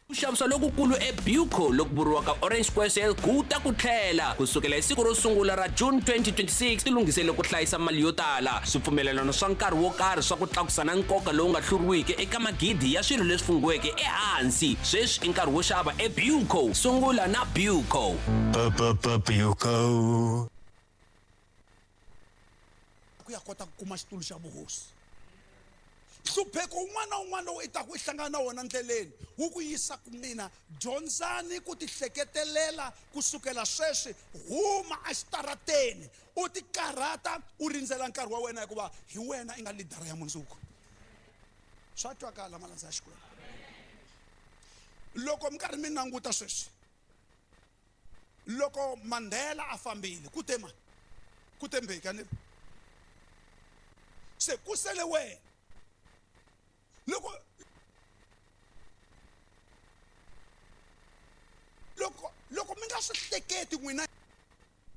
Ku xavisa lokukulu eBuco loku vuriwaka Orange Square Sale ku ta ku tlhela ku sukela hi siku ro sungula ra June 2026. Tilunghisele ku hlayisa mali yo tala, swipfumelelano swa nkarhi wo karhi swa ku tlakusa na nkoka lowu nga hluriwiki eka magidi ya swilo leswi funghiweke ehansi. Sweswi i nkarhi wo xava eBuco. Sungula na Buco. Buco. Ku ya kota ku kuma xitulu xa vuhosi. Nhlupheko wun'wana na wun'wana lowu i taku i hlangana na wona ndleleni wu ku yisa ku mina. Dyondzani ku tihleketelela ku sukela sweswi. Huma exitarateni u tikarhata u rindzela nkarhi wa wena, hikuva hi wena i nga lidara ya mundzuku. Swa twakala, malandza ya Xikwembu? Loko mi karhi mi languta sweswi, loko Mandela a fambile, ku te mani? Ku te Mbeki, a ni ri? Se ku sele wena. Loko loko loko mi nga swi hleketi n'wina.